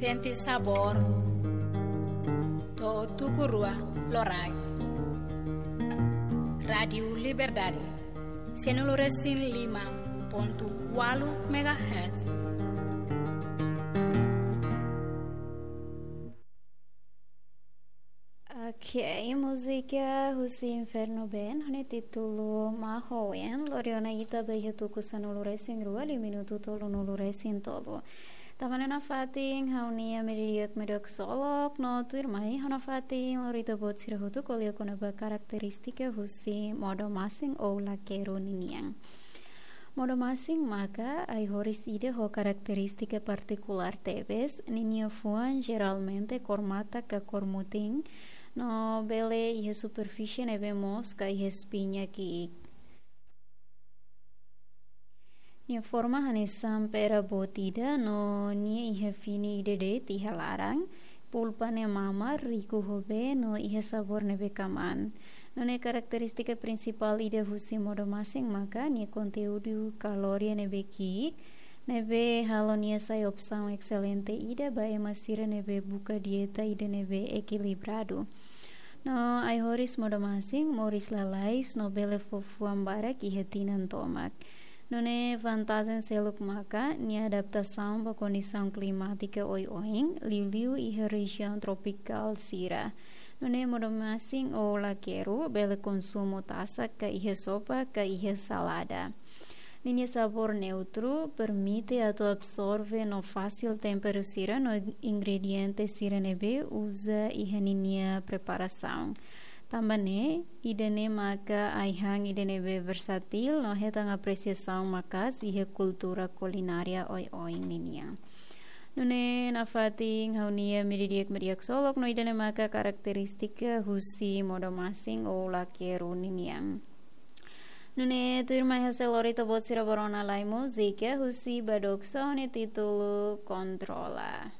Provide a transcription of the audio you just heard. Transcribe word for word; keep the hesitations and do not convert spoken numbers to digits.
Sente sabór. To'o tuku rua loraik. Rádiu Liberdade. Sanulu-resin-lima pontu ualu megahertz. Ok, múzika husi Inferno Band, ho nia títulu Mahoen, lori ona ita ba iha tuku sanulu-resin-rua, liu minutu tolunulu-resin-tolu. Tanba ne'e nafatin ha'u-nia ema ida-idak mak haksolok, no tuirmai ha'u nafatin lori ita-boot sira hotu ko'alia kona-ba karakterístika husi modo-masin ou lakeru ninian. Modo-masin maka ai-horis ida ho karakterístika partikulár tebes, ninia fuan jeralmente kór matak ka kór mutin, no bele iha superfísie ne'ebé moos ka iha espiña ki'ik. Nia forma hanesan pera boot ida no nia iha fini ida de'it iha laran, pulpa ne'e mamar, riku ho bee no iha sabór ne'ebé kamaan. Nune'e karakterístika prinsipál ida husi modo-masin maka nia konteúdu kalória ne'ebé ki'ik, ne'ebé halo nia sai opsaun exelente ida ba ema sira ne'ebé buka dieta ida ne'ebé ekilibradu. No ai-horis modo-masin moris lalais no bele fó fuan barak iha tinan tomak. Nune'e vantajen seluk maka nia adaptasaun ba kondisaun klimátika oioin, liuliu iha rejiaun tropikál sira. Nune'e modo-masin ou lakeru bele konsumu tasak ka iha sopa ka iha salada. Ninia sabór neutru, permite atu absorve no fasil temperu sira no ingrediente sira ne'ebé uza iha ninia preparasaun. Tanba ne'e, ida-ne'e maka ai-han ida ne'ebé versátil no hetan apresiasaun maka'as iha kultura kulinária oioin ninian. Nune'e nafatin ha'u-nia ema ida-idak mak haksolok no ida-ne'e maka karakterístika husi modo-masin ou lakeru ninian. Nune'e tuirmai ha'u sei lori ita-boot sira ba rona lai múzika husi Badook Sound ho nia títulu Kontrola.